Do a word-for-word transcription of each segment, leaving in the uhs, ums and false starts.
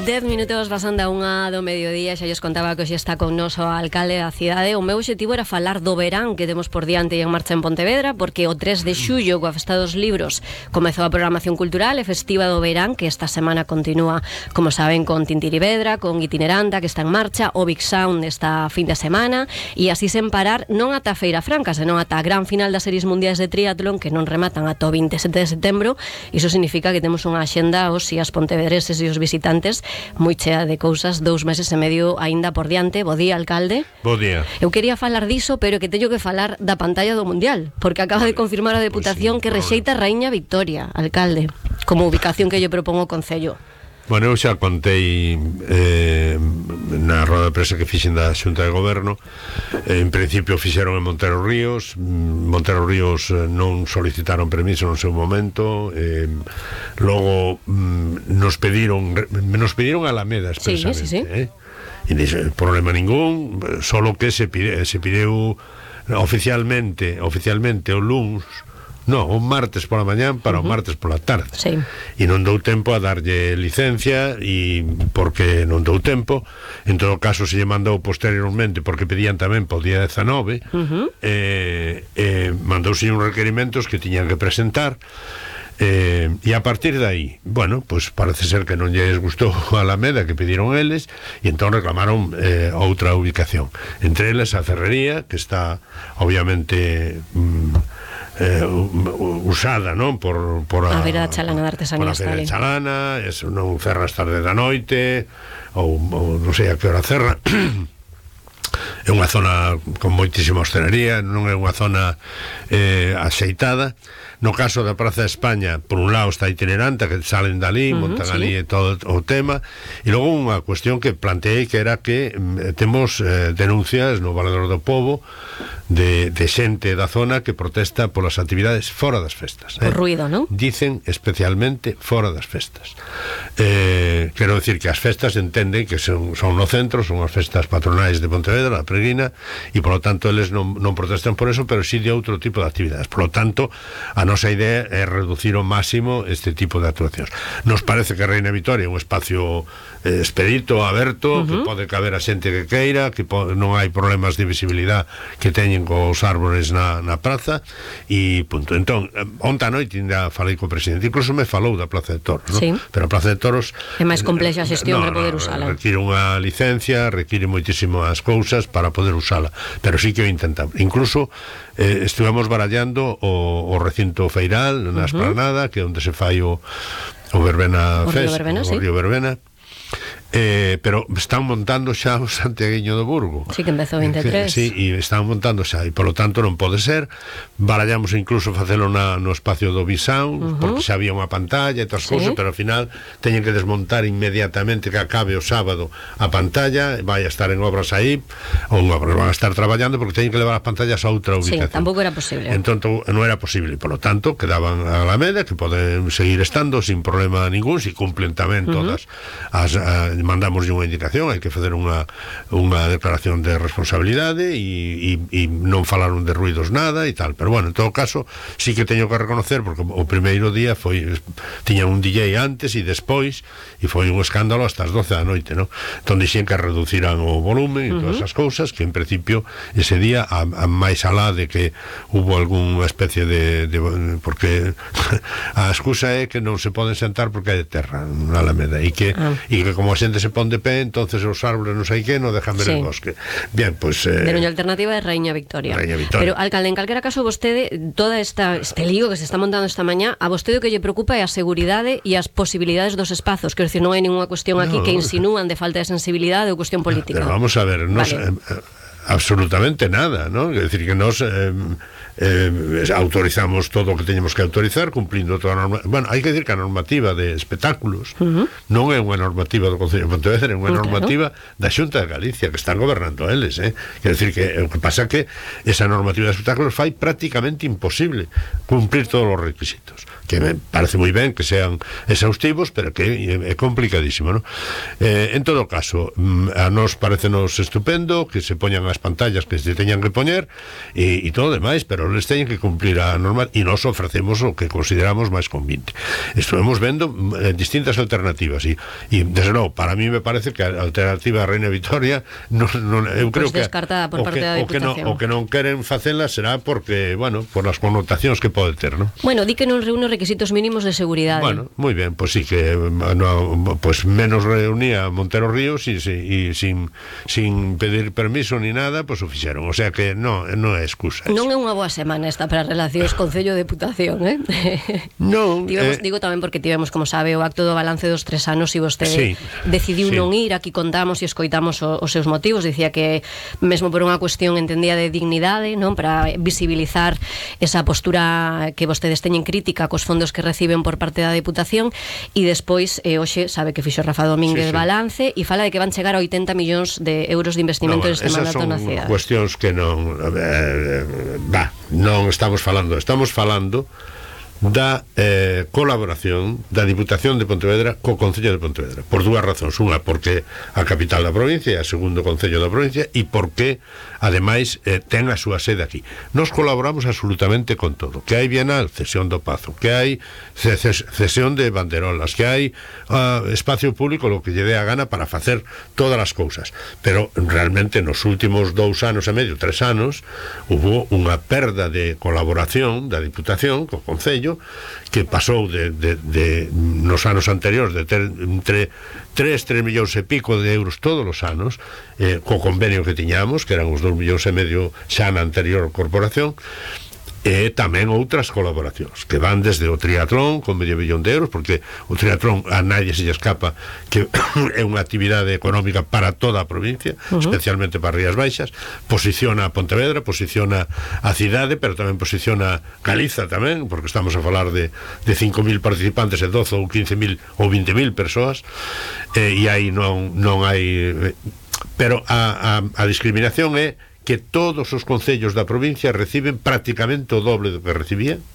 Dez minutos pasando a unha do mediodía. Xa lles contaba que hoxe está con nos o alcalde da cidade. O meu obxectivo era falar do verán que temos por diante e en marcha en Pontevedra, porque o tres de xullo, coa Festa dos Libros, comezou a programación cultural e festiva do verán, que esta semana continúa, como saben, con Tintirivedra, con Itineranta, que está en marcha, o Big Sound esta fin de semana, e así sen parar, non ata a Feira Franca, senón ata a gran final das series mundiais de triatlón, que non rematan ata o vinte e sete de setembro. Iso significa que temos unha axenda os e as pontevedreses e os visitantes moi chea de cousas, dous meses e medio aínda por diante. Bo día, alcalde. Bo día. Eu quería falar diso, pero que teño que falar da pantalla do Mundial, porque acaba de confirmar a Deputación pues sí, que rexeita Raíña Victoria, alcalde, como ubicación que lle propongo o Concello. Bueno, eu xa contei eh, na roda de presa que fixen da Xunta de Goberno. En principio fixeron en Montero Ríos. Montero Ríos non solicitaron permiso no seu momento. eh, Logo mm, nos pediron Nos pediron a Alameda expresamente, sí, sí, sí. Eh? E dixo, problema ningún. Solo que se pide, se pideu oficialmente Oficialmente o luns, no, un martes pola mañán para uh -huh. o martes pola tarde, sí. E non dou tempo a darlle licencia, e porque non dou tempo. En todo caso, se lle mandou posteriormente, porque pedían tamén po día dezanove, uh -huh. eh, eh, mandouse uns requerimentos que tiñan que presentar. Eh, e a partir de aí, bueno, pues parece ser que non lles gustou a Alameda que pediron eles, e entón reclamaron eh, outra ubicación, entre eles a Ferrería, que está obviamente mm, Eh, usada, non? Por, por a, a Feira da Chalana da Artesanía. Por a Feira da Chalana, eso non cerra as tarde da noite, ou, ou non sei a que hora cerra. É unha zona con moitísima hostelería, non é unha zona eh, axeitada. No caso da Praza de España, por un lado está Itineranta, que salen dali, uh -huh, montan sí. ali todo o tema, e logo unha cuestión que planteei, que era que eh, temos eh, denuncias no Valedor do Pobo de, de xente da zona que protesta polas actividades fora das festas. Por eh? ruido, non? Dicen especialmente fora das festas. Eh, quero decir que as festas entenden que son, son no centro, son as festas patronais de Pontevedra, a Preguina, e polo tanto eles non, non protestan por eso, pero sí de outro tipo de actividades. Polo tanto, a nosa idea é reducir ao máximo este tipo de actuacións. Nos parece que Raíña Victoria é un espacio eh, expedito, aberto, uh -huh. que pode caber a xente que queira, que non hai problemas de visibilidade que teñen cos árbores na, na praza, e punto. Entón, onta a noite ainda falei co presidente, incluso me falou da Plaza de Toros, ¿no? Sí. Pero a Plaza de Toros é máis complexa a xestión no, para poder no, usala. Require unha licencia, require moitísimas cousas para poder usala, pero sí que o intentamos. Incluso eh, estivemos barallando o, o recinto feiral na Esplanada, uh -huh. que é onde se fai o, o Verbena o Fest, Río Verbena, o sí. Río Verbena. Eh, pero están montando xa o Santiaguiño do Burgo. Sí, que empezou vinte e tres. Sí, e están montando xa, e polo tanto non pode ser. Barallamos incluso facelo na, no espacio do Big Sound, uh -huh. porque xa había unha pantalla e todas as sí. cousas, pero ao final teñen que desmontar inmediatamente que acabe o sábado a pantalla, vai a estar en obras aí, ou en obras van a estar traballando, porque teñen que levar as pantallas a outra ubicación. Sí, tampouco era posible. Entón non era posible, polo tanto quedaban a Alameda, que poden seguir estando sin problema ningún, se cumplen tamén todas uh -huh. as a, mandamos unha indicación, hai que facer unha, unha declaración de responsabilidade e, e, e non falaron de ruidos nada e tal, pero bueno, en todo caso sí que teño que reconocer, porque o primeiro día foi, tiña un D J antes e despois, e foi un escándalo hasta as doce da noite, ¿no? Entón dixen que reduciran o volumen e todas as cousas, que en principio ese día, a, a máis alá de que hubo algunha especie de, de porque a excusa é que non se poden sentar porque hai de terra na Alameda, e que, ah. e que como a xente se pon de pé, entonces os árboles non sei que, non dejan ver sí. el bosque. Bien, pues eh, pero a alternativa é Raíña Victoria. Raíña Victoria. Pero, alcalde, en calquera caso, vostede, toda esta este lío que se está montando esta mañá, a vostede o que lle preocupa é a seguridade e as posibilidades dos espazos. Quero dicir, non hai ninguna cuestión aquí no. que insinúan de falta de sensibilidade ou cuestión política. Pero vamos a ver, nos, vale. eh, absolutamente nada, ¿no? Es decir, que nos eh, eh, autorizamos todo o que teñemos que autorizar, cumplindo toda a norma. Bueno, hai que decir que a normativa de espectáculos uh -huh. non é unha normativa do Concello de Pontevedra, é unha uh, normativa claro. da Xunta de Galicia, que están gobernando eles, eh? Quer decir que o que pasa que esa normativa de espectáculos fai prácticamente imposible cumplir todos os requisitos, que me parece moi ben que sean exhaustivos, pero que é complicadísimo, ¿no? Eh, en todo caso, a nos parecenos estupendo que se poñan as pantallas que se teñan que poñer e, e todo demais, pero pero les teñen que cumplir a normal e nos ofrecemos o que consideramos máis convinte. Estuvemos vendo eh, distintas alternativas e, e desde logo, para mí me parece que a alternativa a Reina Vitoria non, non, eu creo pues que descartada por o parte que, da o que, non, o que non queren facela será porque, bueno, por as connotacións que pode ter, ¿no? Bueno, di que non reúne requisitos mínimos de seguridade. Bueno, moi ben, pois pues sí que no, pues menos reunía Montero Ríos e, e sin, sin pedir permiso ni nada, pois pues o fixeron, o sea que non, non é excusa. Non é unha boa semana esta para relacións Concello-Deputación, eh? Non, tivemos, eh, digo tamén porque tivemos, como sabe, o acto do balance dos tres anos e vostede sí, decidiu sí. non ir, aquí contamos e escoitamos o, os seus motivos, dicía que mesmo por unha cuestión entendía de dignidade, non, para visibilizar esa postura que vostedes teñen crítica cos fondos que reciben por parte da Deputación e despois, eh, hoxe, sabe que fixo Rafa Domínguez sí, sí. balance e fala de que van chegar a oitenta millóns de euros de investimento no, bueno, este mandato na cidade. Esas son cuestións que non eh, va, non estamos falando, estamos falando da eh, colaboración da Diputación de Pontevedra co Concello de Pontevedra, por dúas razóns. Unha, porque a capital da provincia é a segundo Concello da provincia e porque, ademais, eh, ten a súa sede aquí. Nos colaboramos absolutamente con todo. Que hai Bienal, cesión do Pazo, que hai cesión de banderolas, que hai uh, espacio público, lo que lle dé a gana para facer todas as cousas. Pero, realmente, nos últimos dous anos e medio, tres anos, hubo unha perda de colaboración da Diputación co Concello, que pasou de, de, de nos anos anteriores de ter entre tres, tres millóns e pico de euros todos os anos, eh, co convenio que tiñamos, que eran os dous millóns e medio xa na anterior corporación, e tamén outras colaboracións que van desde o triatlón con medio millón de euros, porque o triatlón a nadie se lle escapa que é unha actividade económica para toda a provincia, uh-huh. especialmente para Rías Baixas, posiciona a Pontevedra, posiciona a cidade, pero tamén posiciona Galiza tamén, porque estamos a falar de, de cinco mil participantes e doce ou quince mil ou vinte mil persoas, eh, e aí non, non hai eh, pero a, a, a discriminación é que todos os concellos da provincia reciben prácticamente o doble do que recibían.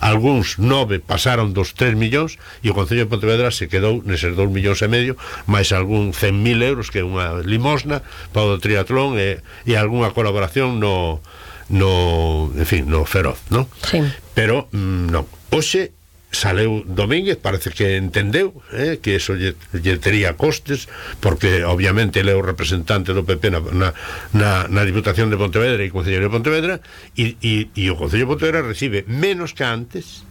Algúns nove pasaron dos tres millóns e o Concello de Pontevedra se quedou neses dous millóns e medio, máis algún cen mil euros, que é unha limosna para o triatlón e, e algunha colaboración no, no, en fin, no feroz, non? Sí. Pero, mm, non. Hoxe saleu Domínguez, parece que entendeu eh, que eso lle, lle tería costes, porque obviamente ele é o representante do P P na, na, na, na Diputación de Pontevedra e Concello de Pontevedra e, e, e o Concello de Pontevedra recibe menos que antes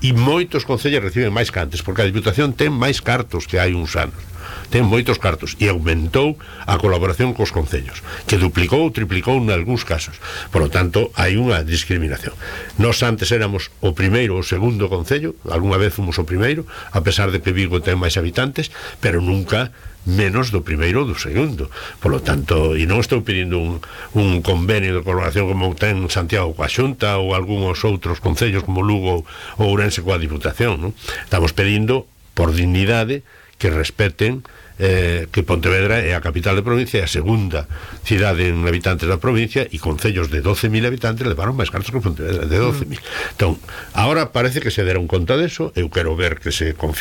e moitos concellos reciben máis que antes, porque a Diputación ten máis cartos que hai uns anos, ten moitos cartos e aumentou a colaboración cos concellos, que duplicou ou triplicou en algúns casos. Por lo tanto, hai unha discriminación. Nós antes éramos o primeiro ou segundo concello, algunha vez fomos o primeiro, a pesar de que Vigo ten máis habitantes, pero nunca menos do primeiro ou do segundo. Por lo tanto, e non estou pedindo un, un convenio de colaboración como ten Santiago coa Xunta ou algúns outros concellos como Lugo ou Ourense coa Diputación, non? Estamos pedindo, por dignidade, que respeten eh, que Pontevedra é a capital de provincia e a segunda cidade en habitantes da provincia, e concellos de doce mil habitantes levaron máis cartos que Pontevedra, de doce mil. Mm. Entón, agora parece que se deron conta deso, eu quero ver que se confirme